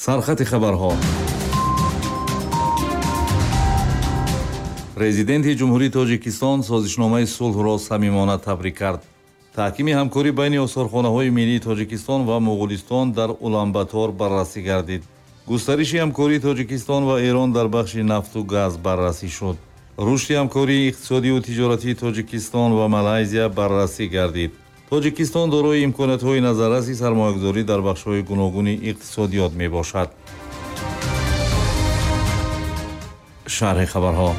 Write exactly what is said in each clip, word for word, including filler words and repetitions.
Сархати хабарҳо. Президенти Ҷумҳурии Тоҷикистон созишномаи сулҳро самимона табрик кард. Таҳкими ҳамкорӣ байни осорхонаҳои миллии Тоҷикистон ва Муғулистон дар Уланбатор баррасӣ гардид. Густариши ҳамкории Тоҷикистон ва Эрон дар бахши нафту газ баррасӣ шуд. Рушди ҳамкории иқтисодиву тиҷоратии Тоҷикистон ва Малайзия баррасӣ гардид. Тоҷикистон дорои имкониятҳои назарраси сармоягузорӣ дар бахшҳои гуногуни иқтисодиёт мебошад. Шарҳи хабарҳо.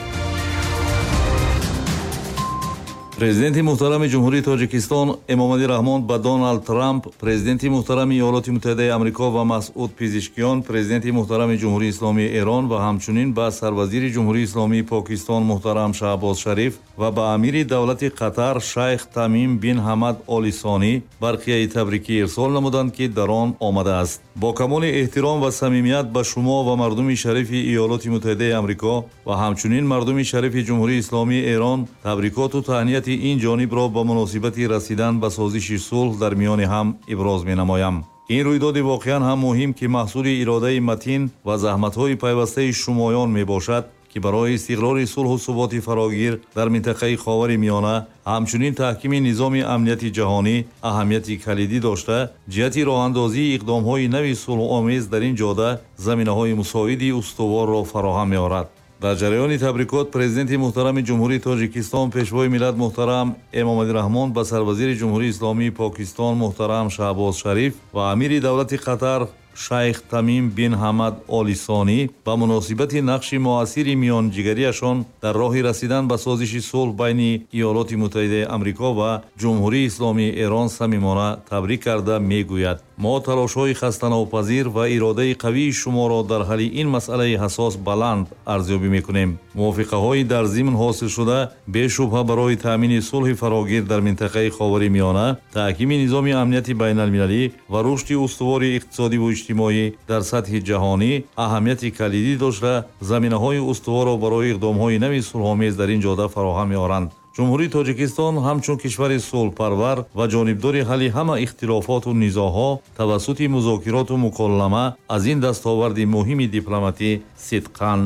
Президенти муҳтарами Ҷумҳурии Тоҷикистон Эмомалӣ Раҳмон ба Доналд Трамп, президенти муҳтарами Иёлоти Муттаҳидаи Амрико ва Масъуд Пизишкиён, президенти муҳтарами Ҷумҳурии Исломии Эрон ва ҳамчунин ба сарвазири Ҷумҳурии Исломии Покистон муҳтарам Шаҳбоз Шариф ва ба амири давлати Қатар Шайх Тамим бин Ҳамад Оли Сонӣ барқияи табрикӣ ирсол намуданд, ки дар он омадааст: бо камоли эҳтиром ва самимият ба шумо ва мардуми шарифи Иёлоти Муттаҳидаи Амрико ва ҳамчунин мардуми шарифи Ҷумҳурии Исломии Эрон табрикоту таҳнияти ин ҷонибро ба муносибати расидан ба созиши сулҳ дар миёни ҳам иброз менамоям. Ин рӯйдоди воқеан ҳам муҳим, ки маҳсули иродаи матин ва заҳматҳои пайвастаи шумоён мебошад, ки барои истиқрори сулҳу суботи фарогир дар минтақаи Ховари Миёна, ҳамчунин таҳкими низоми амнияти ҷаҳонӣ аҳамияти калидӣ дошта, ҷиҳати роҳандозии иқдомҳои нави сулҳомез дар ин ҷода заминаҳои мусоиди устуворро фароҳам меорад. Дар ҷараёни табрикот президенти муҳтарами Ҷумҳурии Тоҷикистон, пешвои миллат муҳтарам Эмомалӣ Раҳмон ба сарвазири Ҷумҳурии Исломии Покистон муҳтарам Шаҳбоз Шариф ва амири давлати Қатар Шайх Тамим бин Ҳамад Оли Сонӣ ба муносибати нақши муассири миёнҷигариашон дар роҳи расидан ба созиши сулҳ байни Иёлоти Муттаҳидаи Амрико ва Ҷумҳурии Исломии Эрон самимона табрик карда мегӯяд: мо талошҳои хастанопазир ва иродаи қавии шуморо дар ҳалли ин масъалаи ҳассос баланд арзёбӣ мекунем. Мувофиқаҳои дар зимн ҳосилшуда бешубҳа барои таъмини сулҳи фарогир дар минтақаи Ховари Миёна, таҳкими низоми амнияти байналмилалӣ ва рушди устувори иқтисодиву иҷтимоӣ дар сатҳи ҷаҳонӣ аҳамияти калидӣ дошта, заминаҳои устуворро барои иқдомҳои нави сулҳомез дар ин ҷода фароҳам меоранд. Ҷумҳурии Тоҷикистон ҳамчун кишвари сулҳпарвар ва ҷонибдори ҳалли ҳама ихтилофоту низоъҳо тавассути музокироту муколлама аз ин дастоварди муҳими дипломатӣ сидқан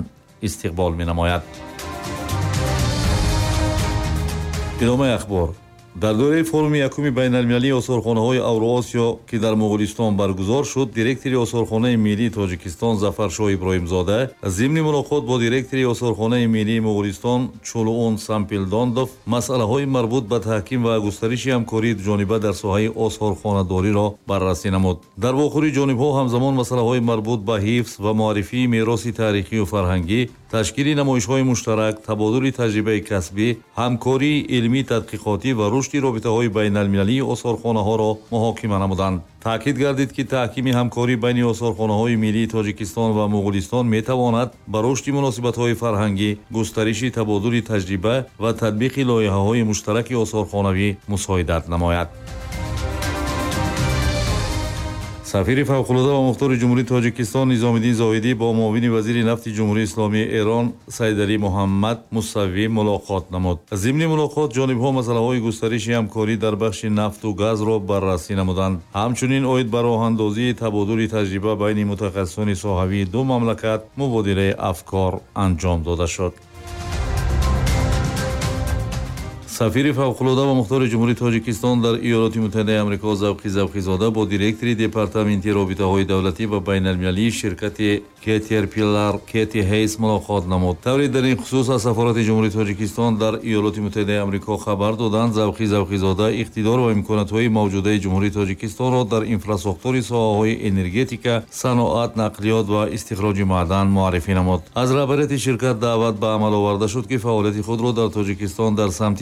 истиқбол менамояд. Идомаи ахбор. Дар доираи форуми якуми байналмилалии осорхонаҳои Авроосиё, ки дар Муғулистон баргузор шуд, директори осорхонаи миллии Тоҷикистон Зафаршоҳ Иброҳимзода зимни мулоқот бо директори осорхонаи миллии Муғулистон Чулуун Сампилдондов масъалаҳои марбут ба таҳким ва густариши ҳамкории дуҷониба дар соҳаи осорхонадориро баррасӣ намуд. Дар вохӯри ҷонибҳо ҳамзамон масъалаҳои марбут ба ҳифз ва муаррифии мероси таърихию фарҳангӣ, ташкили намоишҳои муштарак, табодули таҷрибаи касбӣ, ҳамкории илмӣ тадқиқотӣ ва рушди робитаҳои байналмилалии осорхонаҳоро муҳокима намуданд. Таъкид гардид, ки таҳкими ҳамкорӣ байни осорхонаҳои миллии Тоҷикистон ва Муғулистон метавонад ба рушди муносибатҳои фарҳангӣ, густариши табодули таҷриба ва татбиқи лоиҳаҳои муштараки осорхонавӣ мусоидат намояд. Сафири фавқулода ва мухтори Ҷумҳурии Тоҷикистон Низомиддин Зоҳидӣ бо муовини вазири нафти Ҷумҳурии Исломии Эрон Сайдалӣ Муҳаммад Мусаввӣ мулоқот намуд. Зимни мулоқот ҷонибҳо масъалаҳои густариши ҳамкорӣ дар бахши нафту газро баррасӣ намуданд. Ҳамчунин оид ба роҳандозии табодули таҷриба байни мутахассисони соҳавии ду мамлакат мубодилаи афкор анҷом дода шуд. Сафири фавқулода ва мухтори Ҷумҳурии Тоҷикистон дар Иёлоти Муттаҳидаи Амрико Завқи Завқизода бо директори департаменти робитаҳои давлатӣ ва байналмилалии ширкати Кетерпилар Кети Ҳейс мулоқот намуд. Тавре дар ин хусус аз сафорати Ҷумҳурии Тоҷикистон дар Иёлоти Муттаҳидаи Амрико хабар доданд, Завқи Завқизода иқтидор ва имкониятҳои мавҷудаи Ҷумҳурии Тоҷикистонро дар инфрасохтори соҳаҳои энергетика, саноат, нақлиёт ва истихроҷи маъдан муаррифӣ намуд. Аз раҳбарияти ширкат даъват ба амал оварда шуд, ки фаъолияти худро дар Тоҷикистон дар самти